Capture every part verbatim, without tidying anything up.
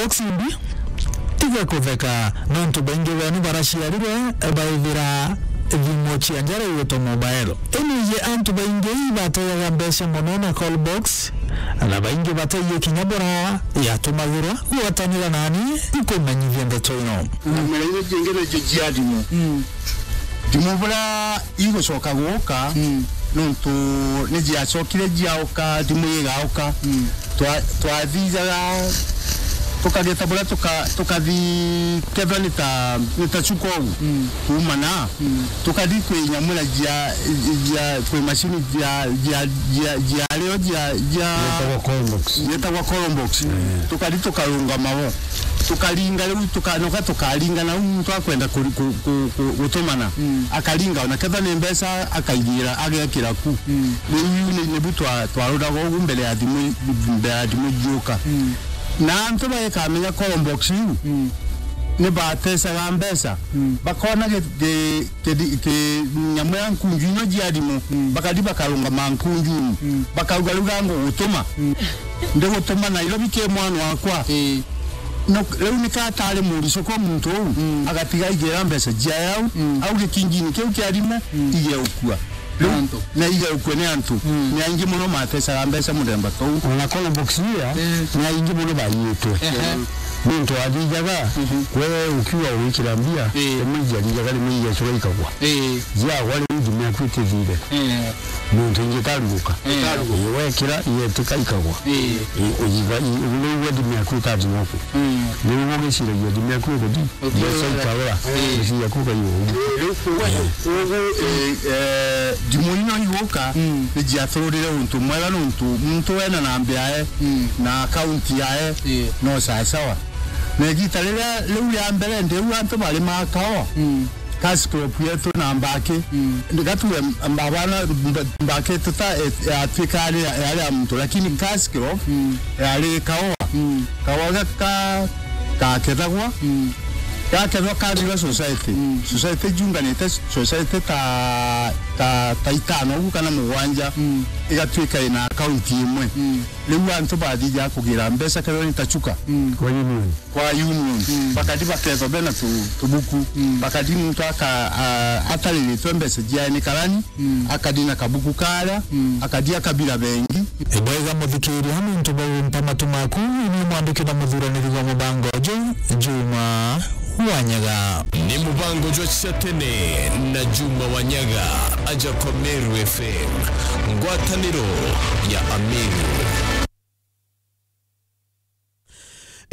Box imbi, tiga kutheka, nontu baingi benu baraciarirwe baithira thimu cia njara igwitwa mobile. Ini iji antu baingi ibategaga mbeca mono na call box, na baingi bataiye kinya bura yatumagirwa. Gwatanira nani ikumenyithia ndeto ino. Nyamira iria ciingi nicio cia thimu. Mm. Thimu bura igucoka guka, mm, nontu ni ciacokire ciauka, thimu igauka. Mm. Twa-, twathijaga tukageta bura tuka-, tukathi kethwa ni ta, ni ta cuka ugu. Mm. Kuuma na, mm, tukathi kwi nyamura cia, cia, kwi macini cia, cia, cia, cia rio cia, cia Yetagwa call box. Yetagwa call box. Eh. Tukathi tukarungama wo. Tukaringa riu, tukanoka tukaringa na uu muntu akwenda ku-, ku-, ku-, ku-, gutumana. Mm. Akaringa, ona kethwa ni mbeca akaigira, agekira ku. Mm. Riu ni, nibu twa-, twaruraga ugu mbere ya thimu, mbere ya thimu ciuka. Mm. Na antu bagikamenya call box iu, mm, ni batecaga mbeca. Mm. Bakona gi-, gi-, ki-, ki-, nyamu ya nkunju ino cia thimu, mm, bakathi bakarungama nkunjuni, mm, bakauga, "Riu ga ngugutuma." Mm. Ndigutuma Nairobi ki mwana wakwa. Ii. No, riu nika atari murico kwa muntu uu, mm, agatiga aigira mbeca ciae au, mm, au gikinjini kiu kia thimu, mm, igeukua. Riu, antu, na igeukue ni antu. Mm. Ni aingi mono matecaga mbeca muthemba tou. Ona call box iria, mm, ni aingi mono baiitwe. Ehe. Muntu athijaga, mhm, we ukiuga ugwikira mbia, ii, rimwe ijiathijaga, rimwe igecura ikagwa. Ii. Ciagwa riu thimu yaku itithire. Ii. Nontu ingitaruguka. Ii. Ii, wekira, igetika ikagwa. Ii. Ii, ujiga, ii, riu we thimu yaku ikathima ku. Mm. Riu ugiciragia thimu yaku iguthi, mbeca ikaura, ii, mbeca ciaku ukaiga uguo. Riu kuuga, ii, ugu, ii, eh, thimu ino iguka, mm, ni ciatururire untu mwega nontu muntu wena namba yae, mm, na akaunti yae, ii, no sawa sawa. Na igita riria riu ria mbere, ndiu antu bari makaoa. Mm. Cash crop yetu na mbaki. Mm. Ndigatue mbabana mb-, mbaki tuta, eh, yatuika yari ya, yari ya muntu, lakini cash crop, mm, yari kaoa. Mm. Kaoa gaka gakethagwa. Mm. Gakethwa kathirwa society. Mm. Society junganite society ta, ta, ta itano ugu kana mugwanja. Mm. Igatuika ina account imwe. Mm. Riu antu bathija kugira mbeca kethwa ni ta chuka. Mm. Kwa union. Kwa union. Mm. Bakathi bakethwa bena tu-, tubuku. Mm. Bakathi muntu aka-, a-, atariritwe mbeca ciae ni karani, mm, akathi na kabuku karia, mm, akathi akabira bengi. Ibwega muthikiria, nontu bau mpa matu maku, ni mwandiki na muthuraniri wa mubango uju, Juma Wanyaga. Ni mubango jwa cia tene na Juma Wanyaga, aja kwa Meru F M, ngwataniro ya Ameru.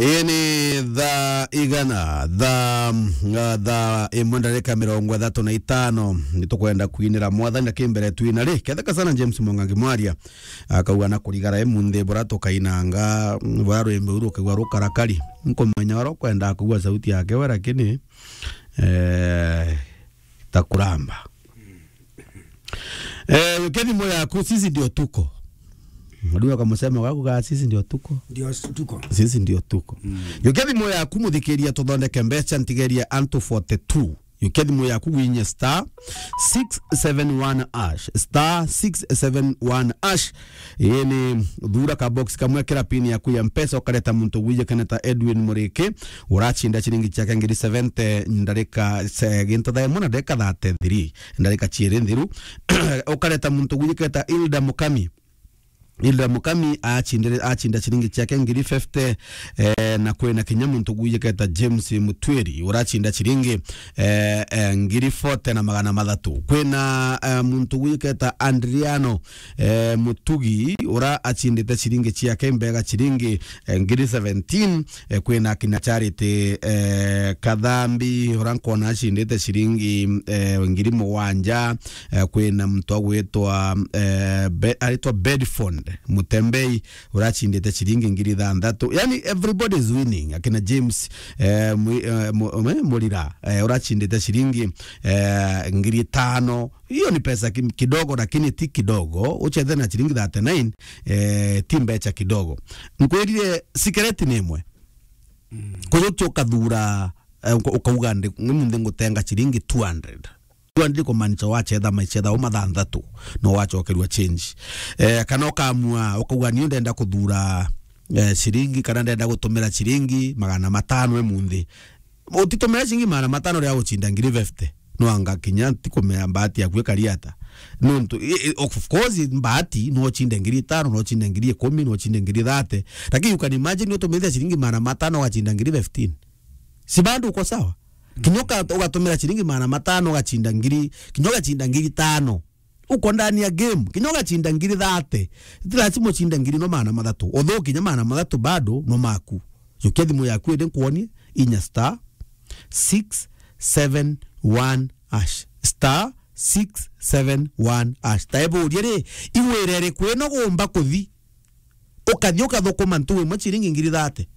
Ii ni thaa igana, thaa, mm, thaa imwe ndarika mirongo ithatu na itano. Nitukwenda kwinira Mwathani na kimbere twina ri. Ketheka sana James Mwangangi Mwaria, akauga na kurigara imunthi bura tukainanga, mm, bura rwimbo ruru ukaigua rukarakari. Nkumenya uria ukwenda kugua sauti yake we, lakini, eh, takuramba. Eh, yukia thimu yaku, sisi ndio tuko. Unajua kwa msemo wako, kaa sisi ndio tuko. Ndio s-, tuko. Sisi ndio tuko. Mm. Yukia thimu yaku, muthikiria, tuthondeke mbeca, ntigeria antu forty-two. Yukia thimu yaku, winye star six seven one hash. Star six seven one hash. Ii ni thura ka box kamwe, kira pin yaku ya Mpesa, ukareta muntu wijikene ta Edwin Muriki, uracinda ciringi ciake ngiri seventy ndarika se-, gintu thaa imwe na ndarika thirty-three, ndarika ciiri nthiru. Ukareta muntu wijikene ta Hilda Mukami. Hilda Mukami acindire-, acinda ciringi ciake ngiri fifty, eh, na kwina kinya muntu wijikene ta James Mutwiri, uracinda ciringi, eh, eh, ngiri forty na magana mathatu. Kwina, eh, muntu wijikene ta Andriano eh, Mutugi, ura acindite ciringi ciake mbega ciringi, eh, ngiri seventeen, eh, kwina kinya Charity, eh, Kathambi, ura nkona acindite ciringi, eh, ngiri mugwanja, eh, kwina muntu agwitwa, eh, Be-, aritwa Bedford Mutembei, ura acindite ciringi ngiri thanthatu. Yani, everybody is winning. Akina James, eh, Mwi-, eh, Mu-, eh, Murira, eh, ura acindite ciringi, eh, ngiri tano. Hiyo ni pesa ki-, kidogo, lakini ti kidogo. Ucheze na ciringi thirty-nine, eh, ti mbecha kidogo. Nkwirire sikereti ni imwe. Mm. Kujukia ukathura, eh, uka-, ukauga ndi, ni munthi ngutenga ciringi two hundred. Two hundred kumaanisha wachetha maichetha o mathanthatu, no wachokerua change. Eh, kana ukamua, ukauga, "Niu ndenda kuthura eh, ciringi, kana ndenda gutumira ciringi magana matano emunthi. Utitumira ciringi magana matano ria gucinda ngiri fifty. No anga kinya ntikumea mbati yaku ikari ata. Nontu, i-, i-, of course, mbati, no ucinde ngiri itano, no ucinde ngiri ikumi, no ucinde ngiri thirty. Lakini you can imagine utumithia ciringi magana matano ugacinda ngiri fifteen. Si bado uko sawa? Kinya uka-, ugatumira ciringi magana matano ugacinda ngiri, kinya ugacinda ngiri tano. Uko ndani ya game, kinya ugacinda ngiri thirty. Ti lazima ucinde ngiri no magana mathatu. Although kinya magana mathatu bado no maku. Jukia thimu yaku indi nkwonie, inya star six seven one hash. Star six seven one hash. Taeburie ri, iwira iriku ino gumba kuthi? Ukathi ukathukuma ntu imwe ciringi ngiri thirty.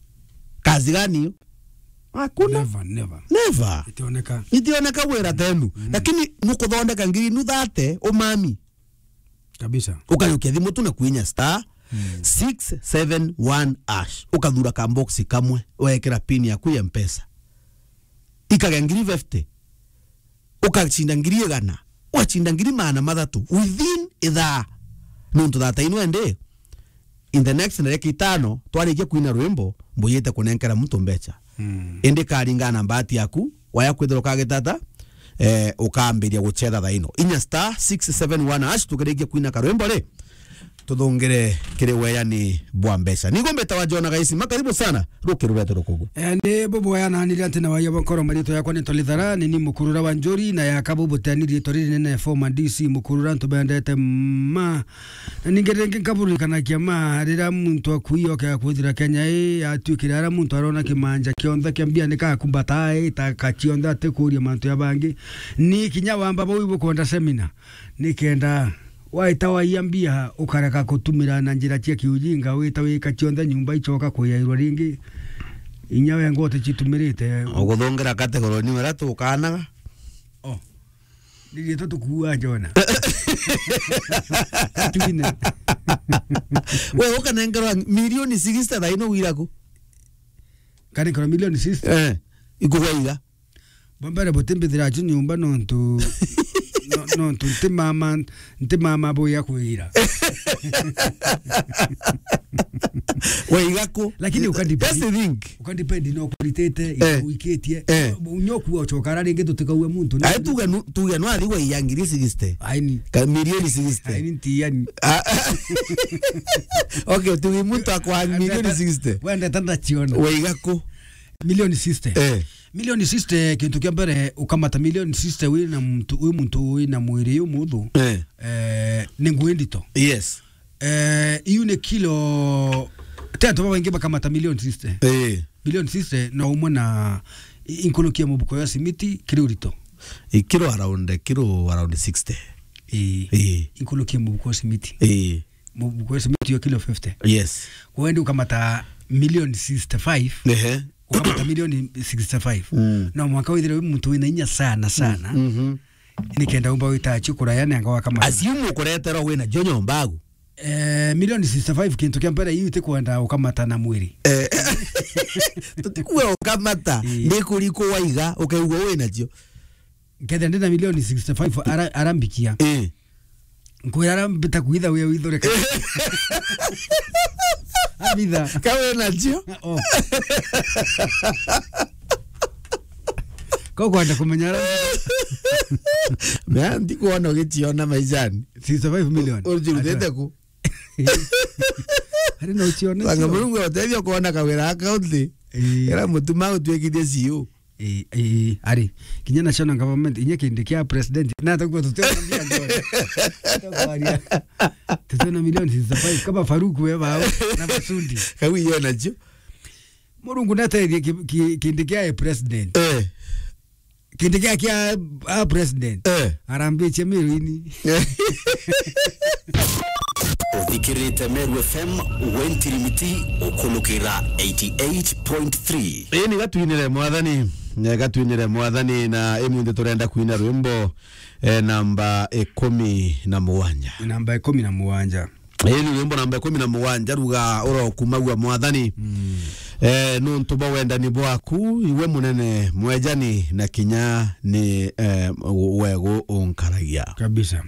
Kazi gani hiyo? Hakuna. Never, never. Never. Itioneka. Itioneka wira tenu. Mm. Lakini nukuthondeka ngiri nu thirty, umami. Kabisa. Ukajukia thimu tu na kwinya star six seven one hash. Ukathura ka box kamwe, wekira pin yaku ya Mpesa. Ikagea ngiri fifty. Ukacinda ngiri igana. Ugacinda ngiri magana mathatu. Within ithaa. Nontu thata ino ende. In the next ndagika itano, twarikia kwina rwimbo, mbuyite kunenkera muntu mbecha. Mm. Indi karingana na mbati yaku, waya kwithirwa ukagitata, eh, ukambiria gucetha thaino. Inya star six seven one hash, tukirikia kwina karwimbo ri, tuthungire kiri weyani bwa mbecha. Nigo mbitawa Jona Gaisima, karibu sana, rukiru rwetu rukugu. Eh, ni bubu yananire ati na waya bwa nkoro, maritwa yakwa ni Tolithara, ni ni mukurura wa njuri, na yaka bubu teni riitwa riri nene former D C mukurura, ntubendete ma Na ningi ringi nkaburirikanagia ma, riria muntu akuiyoka ya kwithira Kenya ii yatuikire, aria muntu arona kimanja kionthe kia mbia ni kakumbata ii, ta ka cionthe atikuria mantu ya bangi. Ni kinya wamba bau ibukwenda seminar, nikenda waita waiya mbia ukareka kutumira na njira cia kiujinga, wita wika cionthe nyumba icoka kuyairwa ringi. Inya we ngote citumirite. Uguthungira category ni wera tukanaga. Oh. Ni riitwa tukuua Jona. Twine. We, ukanengerwa milioni sixty thaa ino wira ku? Kanengerwa milioni sixty? Eh, ikugwa iga. Bwa mbere, butimbithira acu nyumba nontu, no-, nontu nti mama, nti mama buya kwira. Waiga ku? Lakini ukadepend. That's the thing. Ukadepend no kuritite, eh, iku-, ikitie. Eh. Nyo kuwa ucoka ara ringi tutikaue muntu. Ai, tuge nu-, tuge no athi waiya ngiri sixty. Aini. Ka milioni sixty. Aini nti yani. Ah, okay, tuge muntu akwa milioni sixty. Wenda tanda chiona. Waiga ku? Milioni sixty. Eh. Milioni sixty, kintu kia mbere, ukamata milioni sixty wi na muntu, wi muntu wi na mwiri yu muthu. Eh. Eh, ni ngui ndito. Yes. Eh, iu ni kilo, ti antu babaingi bakamata milioni sixty. Eh. Milioni sixty na umwe na i-, inkurukia mubuko ya simiti kiri urito. I kilo around, kilo around sixty. Ii. Ii. Inkurukia mubuko ya simiti. Ii. Mubuko ya simiti yo kilo fifty. Yes. Kwendi ukamata milioni sixty-five. Ehe. Ukamata milioni sixty-five. Mm. No mwaka withire wi muntu wina inya sana, sana. Mhm. Nikenda umba wita acio kuraya nenga wakamata. Assume ukureterwa wina jo nyomba agu. Eh, milioni sixty-five, kintu kia mbere iu itikwenda ukamata na mwiri. Eh, tutikuwe ukamata, ii, ndikuri ku waiga, ukaigua wina cio. Nkethira ndina milioni sixty-five ara-, arambikia. Ii. Nkwira ara mbita kuitha wia withore ka-, abitha. Ka wina cio? Oh. Ko kwenda kumenya ara. Mea, ndikuona ugiciona maishani. Sixty-five million. Ujirutite ku? Ari no ucione. Banga cio. Murungu ateithia kuona kawira account. Ii. Era mutuma utuikithie C E O. Ii, ii, ari. Kinya national government, inya kindi kia president. Na atakuwa tutwe na mbia njone. Tutwe na milioni sixty-five. Kama Faruku we bao na Masundi. Kau iyo nacio. Murungu natethie ki-, ki-, kindi kia president. Eh. Kindi kia, kia, a president. Eh. Arambitie Meru ini. Uthikirite Meru F M, we ntirimiti, ukulukira eighty-eight point three. Ii ni gatwinire Mwathani, eh, gatwinire Mwathani, na imunthi turenda kwina rwimbo, eh, namba ikumi na mugwanja. Namba ikumi na mugwanja. Ii ni rwimbo namba ikumi na mugwanja, ruga urokumagua Mwathani. Mm. Eh, nuntu bwa wendani bwaku, iwe munene mwejani, na kinya ni, eh, wegu unkaragia. Kabisa.